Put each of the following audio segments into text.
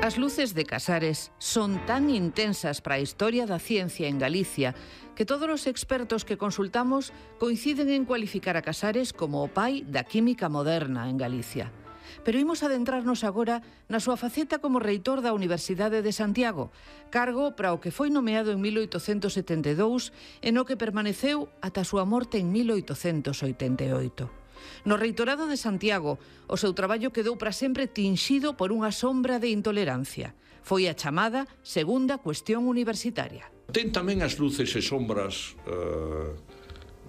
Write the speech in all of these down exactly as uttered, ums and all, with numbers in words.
As luces de Casares son tan intensas para a historia da ciencia en Galicia que todos os expertos que consultamos coinciden en cualificar a Casares como o pai da química moderna en Galicia. Pero imos adentrarnos agora na súa faceta como reitor da Universidade de Santiago, cargo para o que foi nomeado en mil oitocentos setenta e dous e no que permaneceu ata a súa morte en mil oitocentos oitenta e oito. No reitorado de Santiago, o seu traballo quedou para sempre tinxido por unha sombra de intolerancia. Foi a chamada segunda cuestión universitaria. Ten tamén as luces e sombras eh,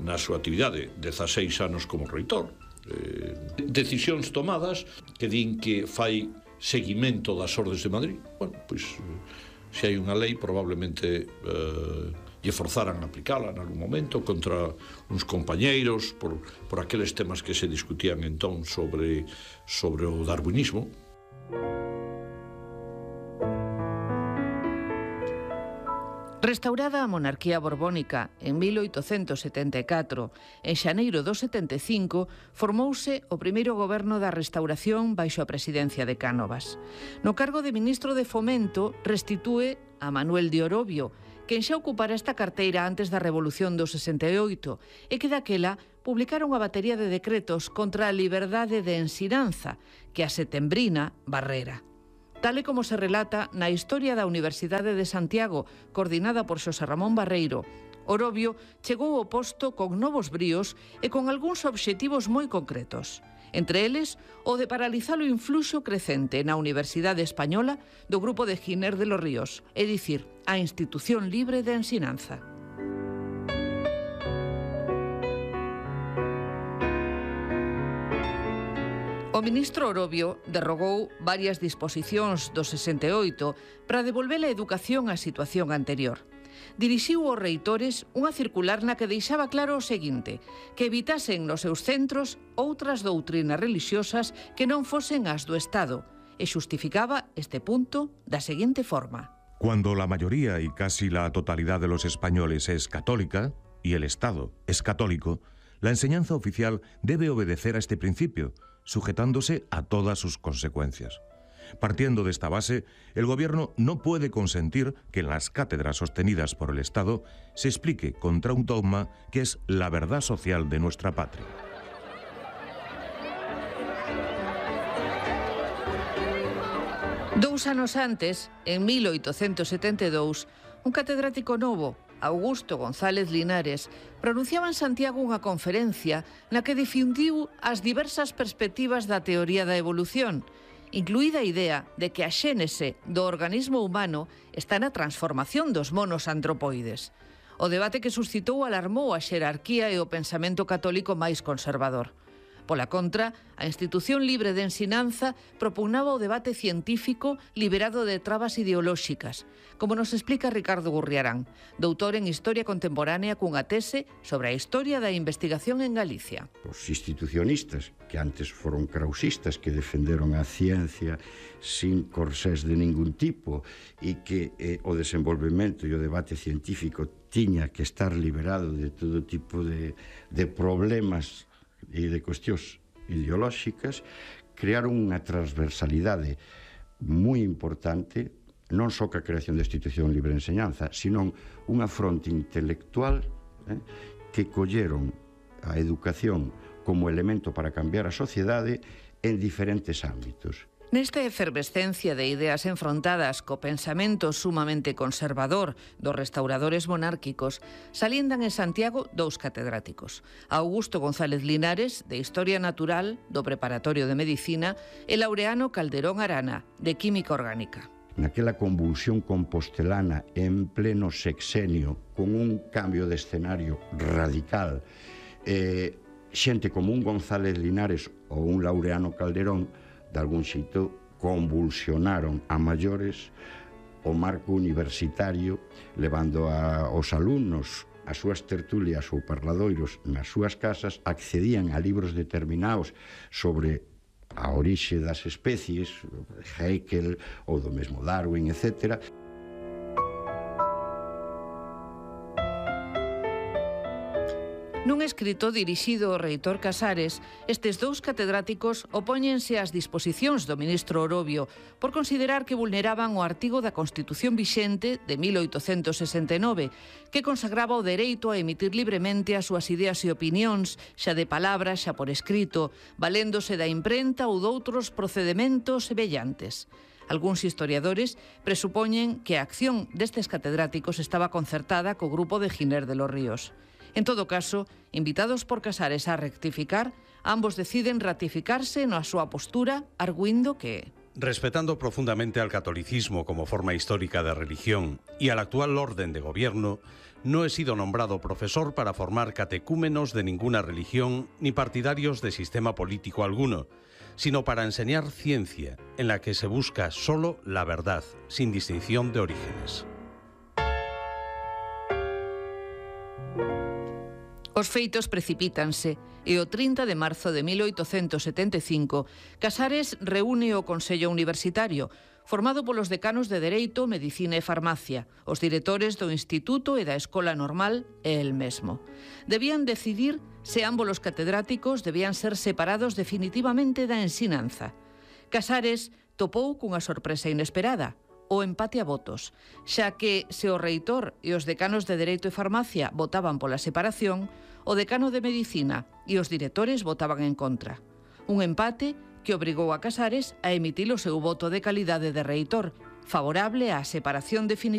na súa actividade, dezaseis anos como reitor. Eh, decisións tomadas que din que fai seguimento das ordes de Madrid. Bueno, pois, eh, se hai unha lei, probablemente eh, lle forzaran a aplicala en algún momento contra uns compañeiros por, por aqueles temas que se discutían entón sobre, sobre o darwinismo. Restaurada a monarquía borbónica en mil oitocentos setenta e catro, en xaneiro do setenta e cinco formouse o primeiro goberno da restauración baixo a presidencia de Cánovas. No cargo de ministro de Fomento restitúe a Manuel de Orobio, quen xa ocupara esta carteira antes da Revolución do sesenta e oito e que daquela publicara unha batería de decretos contra a liberdade de ensinanza que a setembrina barrera. Tal e como se relata na Historia da Universidade de Santiago, coordinada por Xosé Ramón Barreiro, Orobio chegou ao posto con novos bríos e con algúns obxectivos moi concretos. Entre eles, o de paralizar o influxo crecente na Universidade Española do grupo de Giner de los Ríos, é dicir, a institución libre de ensinanza. O ministro Orobio derrogou varias disposicións do sesenta e oito para devolver a educación á situación anterior. Dirixiu aos reitores unha circular na que deixaba claro o seguinte, que evitasen nos seus centros outras doutrinas religiosas que non fosen as do Estado, e xustificaba este punto da seguinte forma. Cuando la mayoría y casi la totalidad de los españoles es católica, y el Estado es católico, la enseñanza oficial debe obedecer a este principio, sujetándose a todas sus consecuencias. Partiendo de esta base, el Gobierno no puede consentir que en las cátedras sostenidas por el Estado se explique contra un dogma que es la verdad social de nuestra patria. Dous anos antes, en mil oitocentos setenta e dous, un catedrático novo, Augusto González Linares, pronunciaba en Santiago unha conferencia na que difundiu as diversas perspectivas da teoría da evolución, incluída a idea de que a xénese do organismo humano está na transformación dos monos antropoides. O debate que suscitou alarmou a xerarquía e o pensamento católico máis conservador. Pola contra, a Institución Libre de Ensinanza propugnaba o debate científico liberado de trabas ideolóxicas, como nos explica Ricardo Gurriarán, doutor en Historia Contemporánea cunha tese sobre a historia da investigación en Galicia. Os institucionistas, que antes foron krausistas, que defenderon a ciencia sin corsés de ningún tipo e que eh, o desenvolvemento e o debate científico tiña que estar liberado de todo tipo de, de problemas e de cuestións ideolóxicas, crearon unha transversalidade moi importante, non só que a creación da Institución Libre de Enseñanza, sino unha fronte intelectual eh, que colleron a educación como elemento para cambiar a sociedade en diferentes ámbitos. Nesta efervescencia de ideas enfrontadas co pensamento sumamente conservador dos restauradores monárquicos, saliendan en Santiago dous catedráticos, Augusto González Linares, de Historia Natural, do Preparatorio de Medicina, e Laureano Calderón Arana, de Química Orgánica. Naquela convulsión compostelana en pleno sexenio, con un cambio de escenario radical, eh, xente como un González Linares ou un Laureano Calderón de algún xeito convulsionaron a maiores o marco universitario, levando a, os alumnos as súas tertulias ou parladoiros nas súas casas, accedían a libros determinados sobre a orixe das especies, Haeckel ou do mesmo Darwin, etcétera. Nun escrito dirixido ao reitor Casares, estes dous catedráticos opóñense ás disposicións do ministro Orobio por considerar que vulneraban o artigo da Constitución vixente de mil oitocentos sesenta e nove, que consagraba o dereito a emitir libremente as súas ideas e opinións, xa de palabra, xa por escrito, valéndose da imprenta ou doutros procedementos semellantes. Algúns historiadores presupoñen que a acción destes catedráticos estaba concertada co grupo de Giner de los Ríos. En todo caso, invitados por Casares a rectificar, ambos deciden ratificarse na súa postura, arguindo que... Respetando profundamente al catolicismo como forma histórica de religión y al actual orden de gobierno, no he sido nombrado profesor para formar catecúmenos de ninguna religión ni partidarios de sistema político alguno, sino para enseñar ciencia en la que se busca solo la verdad, sin distinción de orígenes. Os feitos precipítanse e o trinta de marzo de mil oitocentos setenta e cinco Casares reúne o Consello Universitario, formado polos decanos de Dereito, Medicina e Farmacia, os directores do Instituto e da Escola Normal e el mesmo. Debían decidir se ambos os catedráticos debían ser separados definitivamente da ensinanza. Casares topou cunha sorpresa inesperada, o empate a votos, xa que se o reitor e os decanos de Dereito e Farmacia votaban pola separación, o decano de Medicina e os directores votaban en contra. Un empate que obrigou a Casares a emitir o seu voto de calidade de reitor, favorable á separación definitiva